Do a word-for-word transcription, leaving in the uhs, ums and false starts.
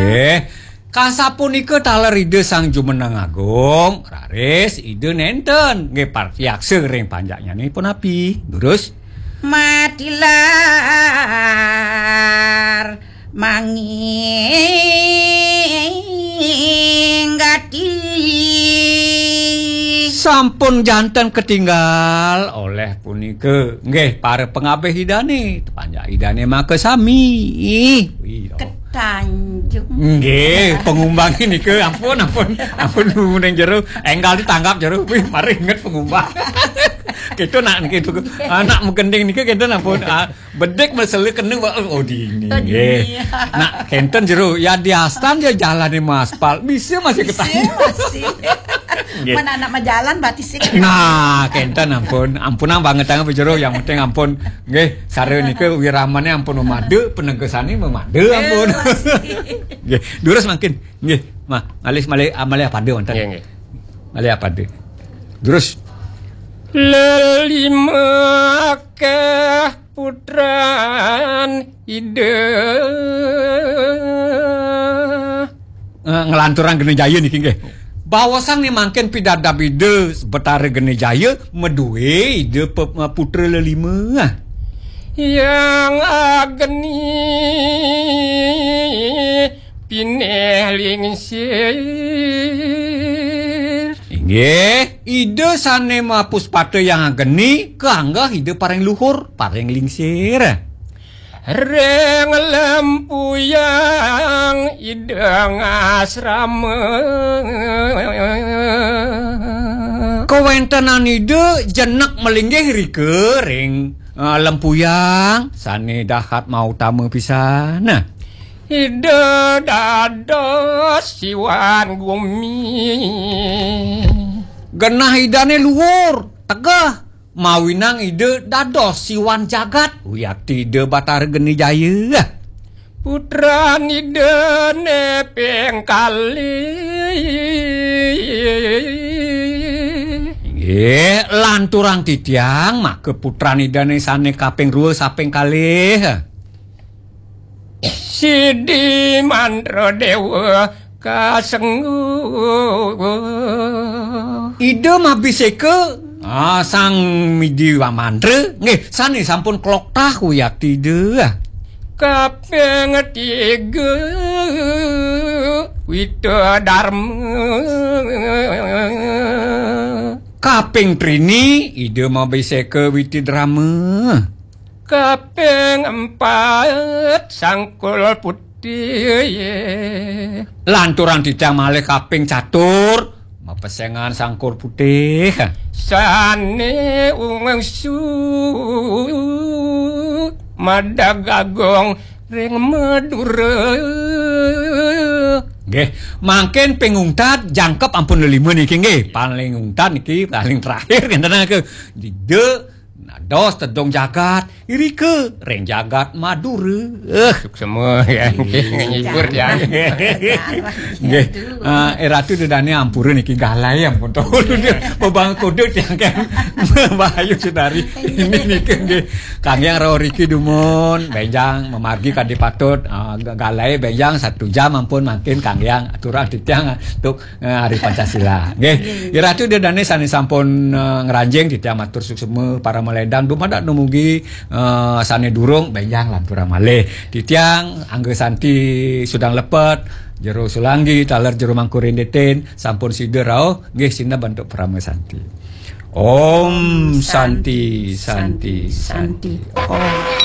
Eh, kasapunika taler Ida Sang Jumeneng Agung, raris Ida nenten nggih partyaksa ring panjaknyané punapi. Durus. Matilar manginggati. Sampun janten ketinggal oleh punika. Nggih, para pangabih Idané, panjak Idané makasami. Wih, oh. Ketanjung. Nggih, pangumbangan nika ampun, ampun, ampun, ning jero. Enggal ditanggap jero. Wih, mari inget pangumbang. Kita nak niki tu, anak menggending nika kita ampun. Ah, bedik mesela kena, oh, oh, dini. Oh, nggih. Dini. Nak kenten jero, ya diastan ya jalan ni aspal. Bisa masih Bisa ketanjung. Masih. Nggih. Men anak majalan berarti sih. Nah, kenten ampun. Ampunang banget tangan jero, yang penting ampun. Nggih, sare nika wiramané ampun memadu, penegesane memadu ampun. Masih. Nggih, durus mangkin. Nggih, mah, malih, malih, ah, malih pada wonten. Nggih, nggih. Malih pada. Durus. Lelima keh putran Ida. Eh, nglanturang Geni Jaya niki nggih. Bawasan ni mangkin pidadab Ida Betara Geni Jaya madué Ida pe-, putra lelima. Yang ageni pinih lingsir. Inggih, Ida sané mapuspata yang ageni, kaanggeh Ida paring luhur, paring lingsir. Ring lempuyang Ida ngasrama. Kawéntenan Ida jenek malinggih rika ring, eh, lempuyang sané dahat mautama pisan. Ida dados siwan gumi. Genah Idané luhur, tegeh, mawinang Ida dados siwan jagat, wiakti Ida Batara Geni Jaya. Putran Idané ping kalih. Inggih, lanturang titiang, maka putran Idané sané kaping rua saping kalih. Sidi Mantra Déwa kasengguh. Ida mabiseka, ah, Sang Midi Mantra, nggih, sané sampun kloktah wiakti Ida. Kaping tiga Wita Darma. Kaping trini Ida mabiseka Witi Drama. Kaping empat Sangkul Putih. Lanturang titiang malih kaping catur, mapesengan Sangkul Putih. Sané ungsu madagagong ring Madura. Nggih, mangkin ping ungtad jangkep ampun lelima niki nggih. Paling ungtad niki paling terakhir ngenten ke. Ida dados tedung jagat, irika ring jagat Madura. Eh, suksema ya. Iya. Ngibur ya. Nggih. Ah, eh, Ratu Ida Dané ampura niki galai ampun to. Bebang kudu tiang kan. Bahayu Sudari. Ini niki nggih. Kanggiang rauh riki dumun, bénjang mamargi kadi patut, ah, ga-, galai bénjang satu jam ampun mangkin kanggiang aturang titiang, ah, tuk Eh, Hari Pancasila. Nggih. Nggih. Iratu Ida Dané sané sampun, eh, ngranjing titiang matur suksma paramaledang dumadak dumugi, eh, sané durung bénjang lanturang malih. Titiang Angga Santi Sudang Lepet, Jero Sulanggi, taler Jero Mangku Rinditin, sampun sida rauh, nggih sineb antuk parama santi. Om Santi, Santi, Santi. Om.